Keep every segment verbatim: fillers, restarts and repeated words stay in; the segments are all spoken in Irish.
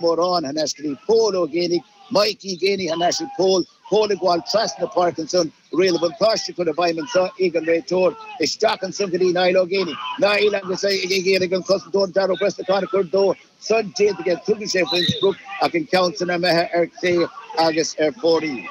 Mórán thar n-ais go dtí Pól Ó Géibheannaigh, Mikey Geaney thar n-ais ag Pól, Pól ag gabháil trasna na páirce ansan, riail an bhuntáiste curtha i bhfeidhm anso ag an réiteoir, isteach ansan go dtí Niall Ó Géibheannaigh, Niall agus é ag iarraidh an cosantóir Darragh Ó Brosnacháin a chur dó san déanta aige, tugann sé faoin sprioc ach an ceann san imithe ar chlé agus ar fóraoil.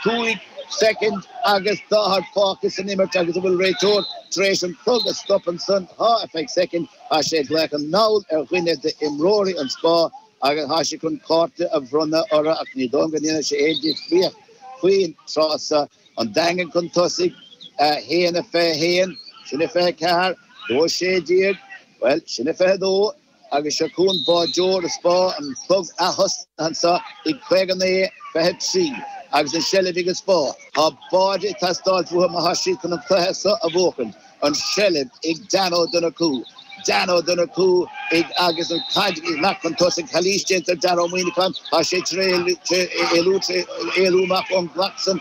Cúig soicind agus daichead fágtha san imirt agus an bhfuil réiteoir tar éis an clog a stop ansan, tá ar feadh soicind, tá sé ag glaoch anall ar dhuine d'imreoirí an Spá agus tá sé chun cárta a bhronnadh orthu ach ní dóigh liom go ndéanfaidh sé aon difríocht faoin tráth seo. An Daingean chun tosaigh, a haon a fiche a haon, sin a fiche a ceathair, dó a sé déag, bhuel, sin a fiche a dó. Agus seo chugainn báideoir an Spá, an clog ath-thosnaithe anseo ag caoga naoi, fiche trí, agus an seilbh ag an Spá. Tá báide ag teastáilt uathu má tá siad chun an cluiche seo a bhuachaint. An seilbh ag Dan Ó Donnchú. Dan Ó Donnchú ag agus an chaid ag imeacht chun tosaigh. Calaois déanta ar Dara Ó Muimhneacháin. Tá sé tar éis éalú amach ón gclac san.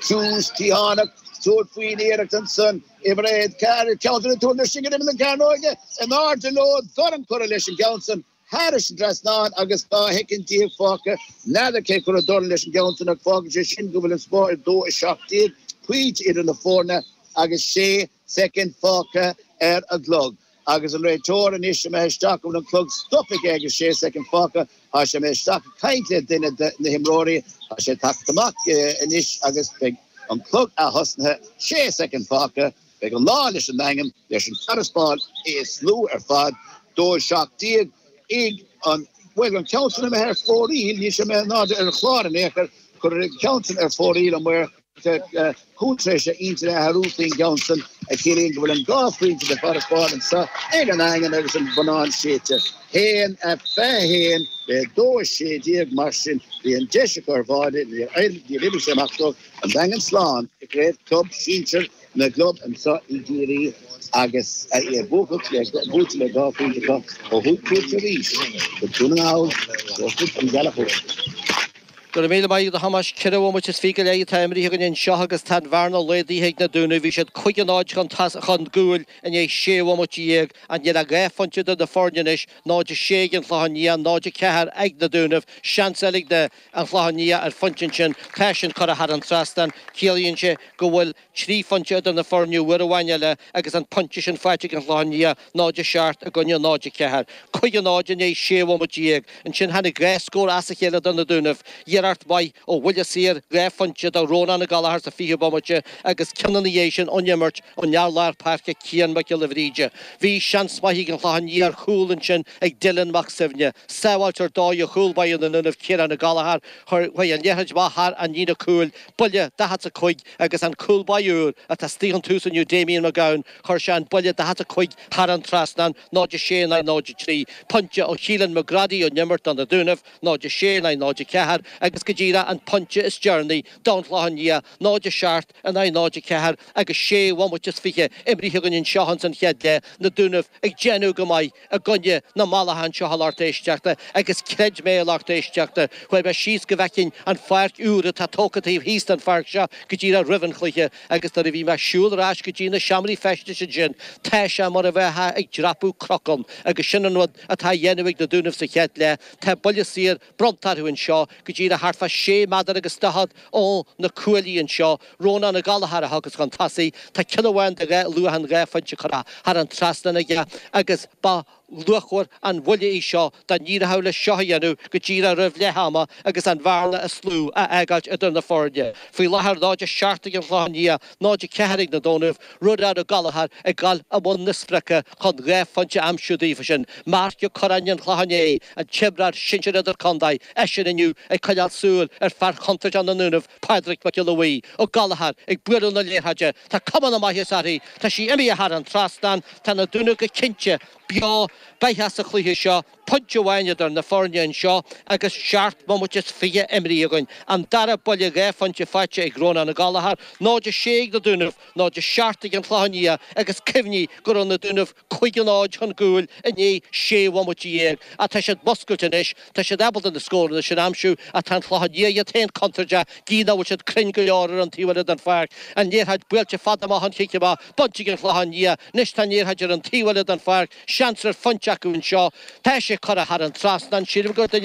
Tús cliathánach tabhairt faoin iarracht ansan. Uimhir a ceathair, ceann de na tuairimí sin go n-imíonn an cearnóige in airde leo, dorn curtha leis an gceann san thairis an trasnán agus dhá shoicind déag fágtha. N'fheadar cé chuir an dorn leis an gceann san ach fágann sé sin go bhfuil an Spá ar dó a seacht déag pointe idir na foirne agus sé soicind fágtha ar an gclog. Agus an réiteoir anois imithe isteach go bhfuil an clog stoptha aige agus sé soicind fágtha. Tá sé imithe isteach ag caint le duine de na himreoirí. Tá sé tagtha amach anois agus beidh an clog ath-thosnaithe, sé soicind fágtha. Beidh an lá leis an nDaingean, leis an farasbarr is lú ar fad, dó a seacht déag ag an, bhuel, an ceann san imithe ar fóraoil, níl sé imithe in airde ar an chlár in aon chor, cuireadh an ceann san ar fóraoil an maor cúl tar éis a intinn a athrú faoin gceann san, a chiallaíonn go bhfuil an dhá phointe de farasbarr anseo ag an nDaingean agus an bonnán séidte. haon a fiche a haon le dó a sé déag mar sin bhí an deis acu ar bháide, níor oibrigh sé amach dóibh, an Daingean slán i gcraobh club sinsir na gclub anseo i gCiarraí agus é buaite le dhá phointe acu ó thug cuairt arís go Dún na nGall, Joseph Ó Gallchóir. Go raibh míle maith agat a Thomáis. Ceithre bhomaite is fiche go leith atá imrithe againn anseo agus tá an bhearna laghdaithe ag na Dúnaibh. Bhí siad cúig a náid chun chun cúil i ndiaidh sé bhomaite dhéag. Ach níl ach dhá phointe idir na foirne anois, náid a sé ag an Chlochán Liath, náid a ceathair ag na Dúnaibh. Seans eile ag an Chlochán Liath ar phointe ansin. Tá sin curtha thar an trasnán. Ciallaíonn sé go bhfuil trí phointe idir na foirne uair amháin eile agus an pointe sin faighte ag an Chlochán Liath, náid a seacht i gcoinne náid a ceathair. Cúig a náid i ndiaidh sé bhomaite dhéag. Ansin tháinig dhá scór as a chéile do na Dúnaibh. Iarracht mhaith ó bhuille saor dhá phointe do Rónán Ó Gallchóir sa fichiú bomaite agus ceann ina dhiaidh sin ón imirt ón fhear lár páirce Cian Mac Giolla Bhríde. Bhí seans maith ag an Chlochán Liath ar chúl ansin ag Dylan Mac Suibhne. Sábháilt ar dóigh ó chúl báire na nDúnaibh Ciarán Ó Gallchóir. Chuaigh an liathróid amach thar an líne cúil. Buille daichead 's a cúig agus an cúl báire úr atá istigh ón tús inniu Damien McGowan, chuir sé an buille daichead 's a cúig thar an trasnán, náid a sé in aghaidh náid a trí. Pointe ó Keelan McGrady ón imirt do na Dúnaibh, náid a sé in aghaidh náid a ceathair, agus go díreach an pointe is deireanaí don Chlochán Liath, náid a seacht in aghaidh náid a ceathair agus sé bhomaite is fiche imrithe againn anseo ins an chéad leath, na Dúnaibh ag déanamh go maith i gcoinne na mallacha anseo a lucht éisteachta agus creid mé a lucht éisteachta, chuaigh mé síos go bhfeicfinn an pháirc úr atá tógtha taobh thíos den pháirc seo go díreach roimh an chluiche agus nuair a bhí mé ag siúl ar ais go dtí na seomraí feistis ansin, tá sé mar a bheifeá ag dreapadh cnocán agus sin an rud atá á dhéanamh ag na Dúnaibh sa chéad leath. Tá buille saor bronnta orthu anseo go díreach thart fá sé méadar agus daichead ó na cuaillí anseo. Rónán Ó Gallchóir a thiocfas chun tosaigh. Tá ceann amháin de dhá luach an dhá phointe curtha thar an trasnán aige agus ba luachmhar an bhuille í seo dá n-éireodh leis seo a dhéanamh go díreach roimh leath ama agus an bhearna is lú a fhágáilt idir na foirne. Faoi láthair náid a seacht ag an Chlochán Liath, náid a ceathair ag na Dúnaibh, Rónán Ó Gallchóir ag gabháil i mbun na sprice chun dhá phointe a aimsiú daofa sin. Marc Ó Curráin an Chlocháin Léith, an t-imreoir sinsir idirchontae, eisean inniu ag coinneáil súil ar fear chontúirteach na nDúnaibh, Pádraig Mac Giolla Bhuí. Ó Gallchóir ag bualadh na liathróide. Tá cuma na maitheasa uirthi. Tá sí imithe thar an trasnán. Tá na Dúnaibh go cinnte beo beathach sa chluiche seo. Pointe amháin idir na foirne anseo agus seacht mbomaite is fiche imrithe againn. An dara buille dhá phointe faighte ag Rónán Ó Gallchóir, náid a sé ag na Dúnaibh, náid a seacht ag an Chlochán Liath agus cuimhnigh go raibh na Dúnaibh cúig a náid chun cúil i ndiaidh sé bhomaite dhéag. Ach tá siad muscailte anois, tá siad ábalta na scóranna sin a aimsiú ach tá an Chlochán Liath iad féin contúirteach, gidh nach bhfuil siad cruinn go leor ar an taobh eile den pháirc. An liathróid buailte fada amach an chic amach, bainte ag an Chlochán Liath. Anois tá an liathróid ar an taobh eile den pháirc. Seans ar phointe acu anseo. Tá sé curtha thar an trasnán sílim gur duine